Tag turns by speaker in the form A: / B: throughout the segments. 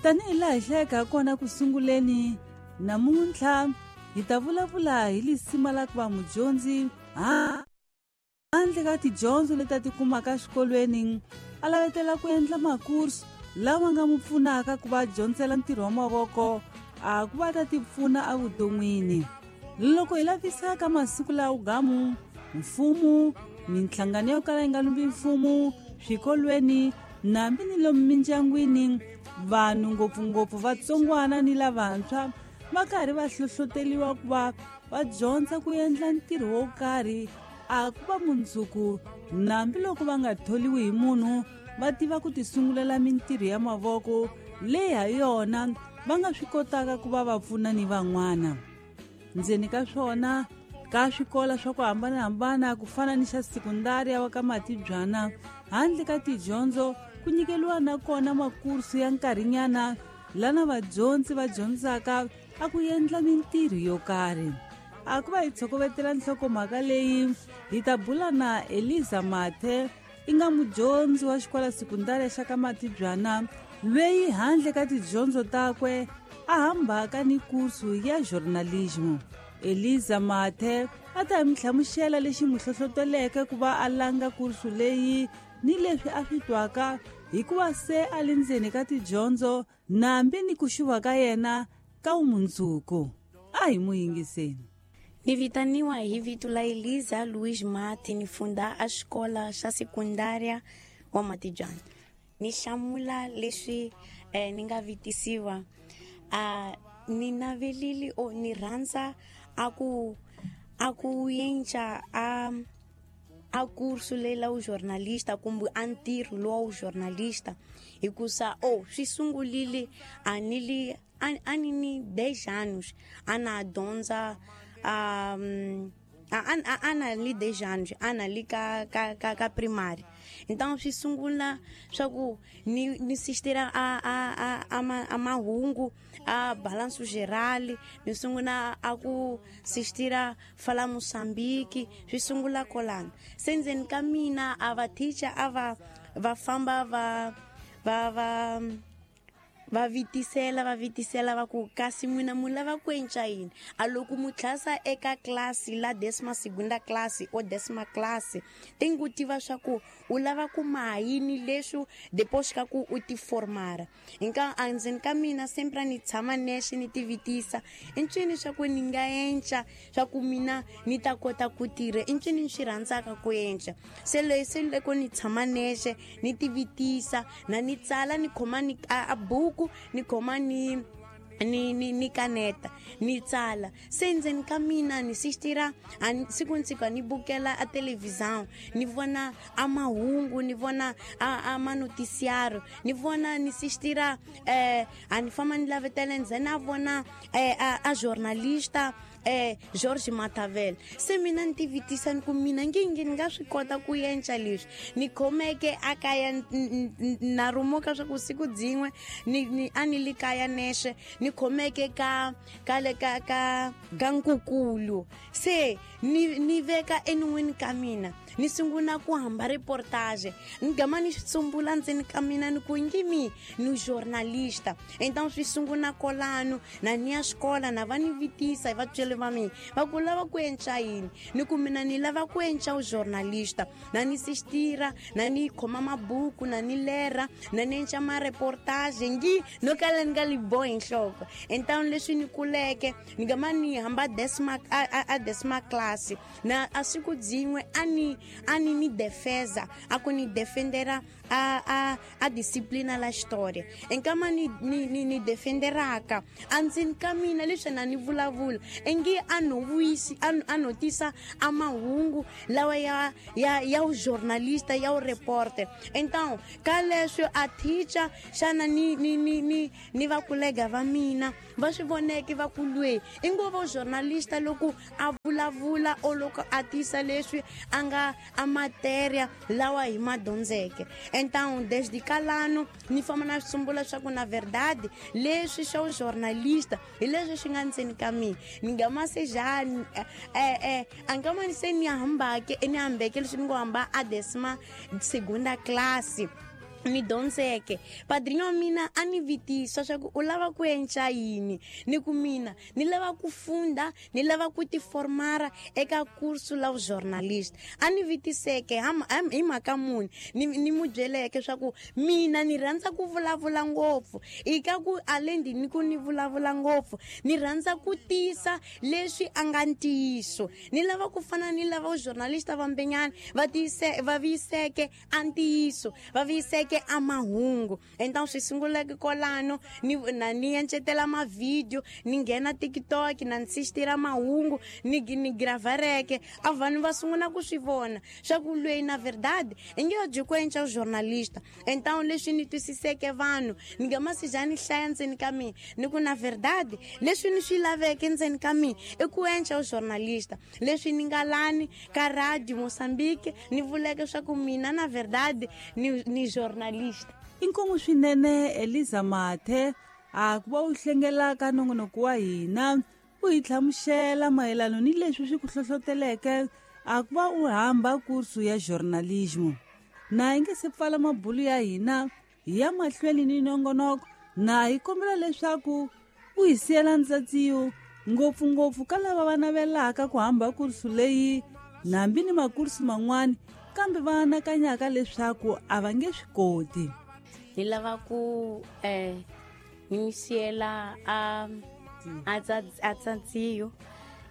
A: Tanihi laha hi hlayeke ha kona ku sunguleni, namuntlha hi ta vulavula hi lisima la ku va mudyondzi handle ka tidyondzo leti a ti kumaka exikolweni, a lavetela ku endla makursu lawa nga n'wi pfunaka ku va dyondzela ntirho wa mavoko a ku va ta ti pfuna evuton'wini. Loko hi lavisa ka masiku lawa gamu, mfumo, minhlangano yo kala yi nga lumbi mfumo, swikolweni nambi ni lomu mindyangwini, vanhu ngopfungopfu vatsongwana ni lavantshwa va karhi va hlohloteriwa ku va va dyondza ku endla ntirho wo karhi a ku va mundzuku nambi loko va nga tholiwi hi munhu va tiva ku tisungulela mintirho ya mavoko leyi ha yona va nga swi kotaka ku va va pfuna ni van'wana. Ndzeni ka swona ka swikola swa ku hambanahambana ku fana ni xa sekundari ya ka Matibyana, handle ka tidyondzo ku nyikeliwa na kona makursu ya nkarhinyana lana vadyondzi va dyondzaka a ku endla mintirho yo karhi. A ku va hi tshokovetela nhlokomhaka leyi hi ta bula na Eliza Mathe, i nga mudyondzi wa xikola sekundari xa ka Matibyana, lweyi handle ka tidyondzo takwe a hambaka ni kursu ya journalism. Eliza Mathe a ta hi mi hlamusela lexi n'wi hlohloteleke ku va a langa kursu leyi ni leswi a swi twaka hikuva se a le ndzeni ka tidyondzo nambi ni ku xuva ka yena ka vumundzuku. A hi n'wi yingiseni.
B: Ni vitaniwa hi vito la Eliza Luiz Mathe, ni funda a xikola xa sekundária wa Matibyana. Ni hlamula leswi ni nga vitisiwa. Ni navelile o ni rhandza a ku a ku yenca a curso lela u jornalista kumbe a ntirho lowa u jornalista, hikusa o swi sungulile a ni li a ni ni 10 anos a na dyondza a na li 10 anos a na li ka ka ka ka primary. Então swi sungula swa ku ni sistira a mahungu a balanço geral, ni sungula a ku sistira fala Moçambique, swi sungula kolana. Se ndzeni ka mina a va teacher a va va famba va va va va vitisela va vitisela va ku kasi n'wina mu lava ku endla yini? A loko mu tlhasa eka klasi la décima segunda classe o décima classe, tem ku tiva swa ku u lava ku maha yini leswi depois ka ku u ti formara. Nka endzeni ka mina sempre ni tshama nexe ni ti vitisa i ncini swa ku ni nga endla swa ku mina ni ta kota ku tirha, i ncini ni swi rhandzaka ku endla. Se leyi se loko ni tshama nexe ni ti vitisa na ni tsala ni khoma ni a buku ni khoma ni ni ni ni kaneta ni tsala. Se ndzeni ka mina ni sistira siku ni siku ni bukela a televisão, ni vona a mahungu, ni vona a manoticiário, ni vona ni sistira a ni famba ni lavetela ndzeni a vona a jornalista George Matavel. Se mina ni tivitisa ni ku mina ngingi ni nga swi kota ku endla leswi. Ni khomeke a kaya na rumuka swa ku siku dzin'we ni a ni li kaya nexe ni khomeke ka ka le ka ka ka nkukulu. Se ni veka enon'wini ka mina ni sungula ku hamba reportage, ni gama ni tsumbula ndzeni ka mina ni ku ngimi ni journalista. Então swi sungula kolano na ni ya xikola na va ni vitisa hi vatswari va mina va ku lava ku endla yini, ni ku mina ni lava ku endla u journalista, na ni sistira na ni khoma mabuku na ni lera na ni endla ma reportage ngi no kala ni nga li bohi nhloko. Então leswi ni kuleke ni gama ni hamba décima a décima classe na a siku dzin'we a ni ni defesa a ku ni defendera a disciplina la história. Enkama ni ni ni ni defenderaka andzeni ka mina leswi na ni vulavula engi a no vuyisi a notisa a mahungu lawa ya ya ya u jornalista ya u reporter. Então ka leswi a teacher xana ni ni ni ni ni va kolega va mina va swi voneke va ku lwe i ngo va journalista loko a vulavula o loko a tisa leswi a nga a matéria lawa hi ma dyondzeke. Então desde kalano ni famba na swi swa ku na verdade leswi swa journalista hi leswi swi nga ndzeni ka mina ni nga ma se njhani a nga ma se ni hambake ni hambeke leswi ni ngo hamba a décima segunda classe. Ni dyondzeke padrinho wa mina a ni vitisa swa ku u lava ku endla yini, ni ku mina ni lava ku funda, ni lava ku tiformara eka kursu la journalist. A ni vitiseke hi mhaka muni, ni mu byeleke swa ku mina ni rhandza ku vulavula ngopfu, i ka ku alendi ni ku ni vulavula ngopfu, ni rhandza ku tisa leswi a nga ntiyiso, ni lava ku fana ni lava journalist va mbenyana va tiyise va viyiseke a ntiyiso, va viyiseke a mahungu. Então swi sunguleke kolano ni na ni encetela mavhidiyo, ni nghena TikTok na nsistira mahungu, ni ni gravareke a vanhu va sungula ku swi vona swa ku lweyi na verdade i nge byi ku enca journalista. Então leswi ni twisiseke vanhu ni nga masija ni hlaya ndzeni ka mina, ni ku na verdade leswi ni swi laveke ndzeni ka mina i ku enca journalista. Leswi ni nga lani ka radio Mozambique ni vuleke swa ku mina na verdade ni journalista.
A: Inkomu swinene Eliza Mathe a ku va u hlengelaka nongonoko wa hina, u hi hlamusela mayelano ni leswi swi ku hlohloteleke a ku va u hamba kursu ya journalism. Na hi nge se pfala mabulu ya hina hi ya mahlweni ni nongonoko, na hi kombela leswaku u hi siyela ntsatsiyo ngopfungopfu ka lava va navelaka ku hamba kursu leyi nambi ni makursu man'wani kambe va anakanyaka leswaku a va nge swi koti.
B: Ni lava ku ni mi siyela a tsatsiyo,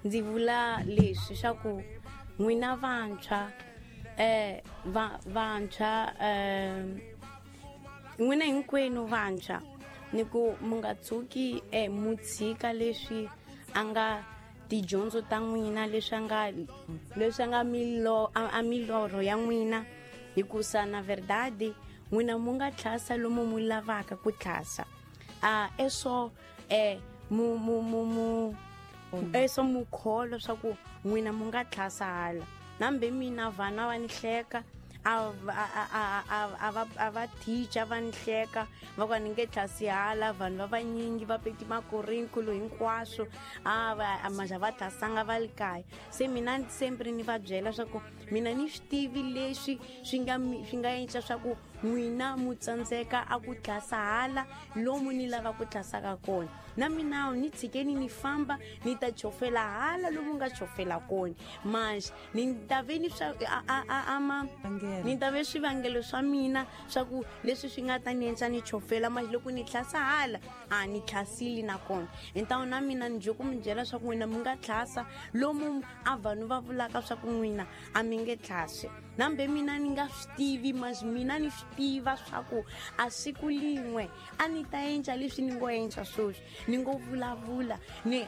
B: ndzi vula leswi swa ku n'wina vantshwa vantshwa n'wina hinkwenu vantshwa ni ku mu nga tshuki mu tshika leswi a nga tidyondzo ta n'wina, leswi nga a milorho ya n'wina, hikusa na verdade n'wina mu nga tlhasa lomu mu lavaka ku tlhasa. Eso mu mu mu mu eso mu kholo swa ku n'wina mu nga tlhasa hala. Nambe mina vana va ni hleka, a va teacher va ni hleka, va ku ni nge tlhasi hala, vanhu va vanyingi va peti makurriculo hinkwaswo, a va maja va tlhasanga va le kaya. Se mina sempre ni va byela swa ku mina ni swi tivi leswi swi nga endla swa ku n'wina mu tsandzeka a ku tlhasa hala lomu ni lava ku tlhasaka kona. Na mina ni tshikeni ni famba ni ta chofela hala lomu nga chofela kona. Manje ni ta ve ni swa ni ta ve swivangelo swa mina swa ku leswi swi nga ta ni endla ni chofela, manje loko ni tlhasa hala a ni tlhasile na kona. Então na mina ni ku mi byela swa ku n'wina mi nga tlhasa lomu a vanhu va vulaka swa ku n'wina a mi nge tlhasi. Nambe mina ni nga swi tivi, mas mina ni swi tiva swa ku a siku lin'we a ni ta endla leswi ni ngo endla sweswi, ni ngo vulavula ni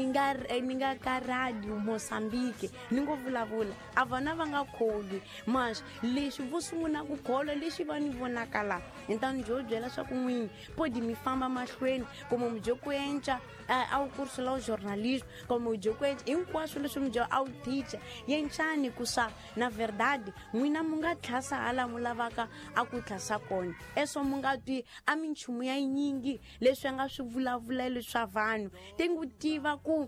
B: nga ka radio Mozambique ni ngo vulavula a vana va nga kholwi, mas leswi vo sungula ku kholwa leswi va ni vonaka la. Então ni byo byela swa ku n'wini podi mi famba mahlweni kumbe mi byo ku endla a wu kursu la journalism kumbe byo ku endla hinkwaswo leswi mi byo a wu teacher yenxani ku sa na verdade n'wina mu nga tlhasa hala mu lavaka a ku tlhasa kona. Eso mu nga twi a minchumu ya yinyingi leswi a nga swi vulavulelo swa vanhu, tingu tiva ku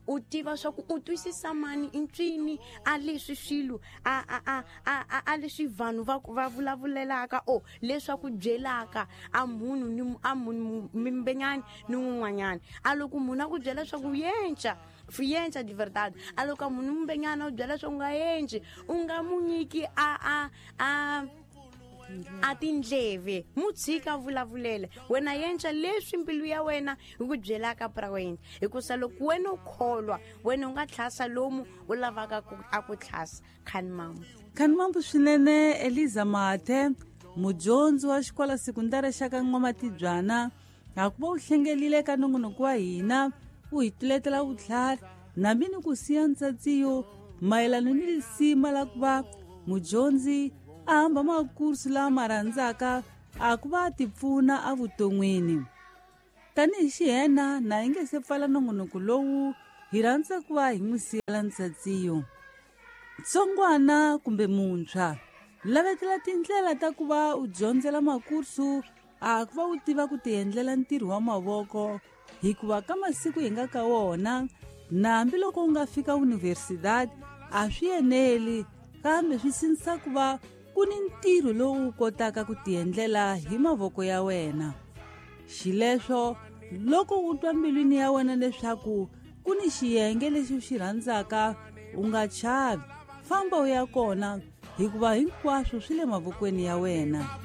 B: u tiva swa ku u twisisa mani intswini a leswi swilo a leswi vanhu va vulavulelaka o leswaku byelaka a munhu ni a munhu mimbenyani ni un'wanyana. A loko munhu a ku byela swa ku yenca yenca de verdade, a loko munhu mbenyana u byela swa ku nga yenci, u nga mu nyiki a tindleve, mu tshika vulavulela wena, yenca leswi mbilu ya wena hi ku byelaka pra wena. Hikusa loko wena u kholwa wena u nga tlhasa lomu u lavaka a ku tlhasa. Khanimambu
A: Khanimambu swinene Eliza Mathe, mudyondzi wa xikolo sekundari xa ka N'wamatibyana, a ku va u hlengelile ka nongonoko wa hina, u hi tuletela vutlhari nambi ni ku siya ntsatsiyo mayelano ni lisima la ku va mudyondzi a hamba makursu lama rhandzaka a ku va ti pfuna evuton'wini. Tanihi xihena na hi nge se pfala nongonoko lowu, hi rhandza ku va hi n'wi siyela ntsatsiyo. Tsongwana kumbe muntshwa, lavetela tindlela ta ku va u dyondzela makursu a ku va u tiva ku tiendlela ntirho wa mavoko, hikuva ka masiku hi nga ka wona na hambiloko u nga fika universidade a swi eneli, kambe swi sindzisa ku va ku ni ntirho lowu u kotaka ku tiendlela hi mavoko ya wena. Xileswo loko u twa mbilwini ya wena leswaku ku ni xiyenge lexi u xi rhandzaka, u nga chavi, famba u ya kona, hikuva hinkwaswo swi le mavokweni ya wena.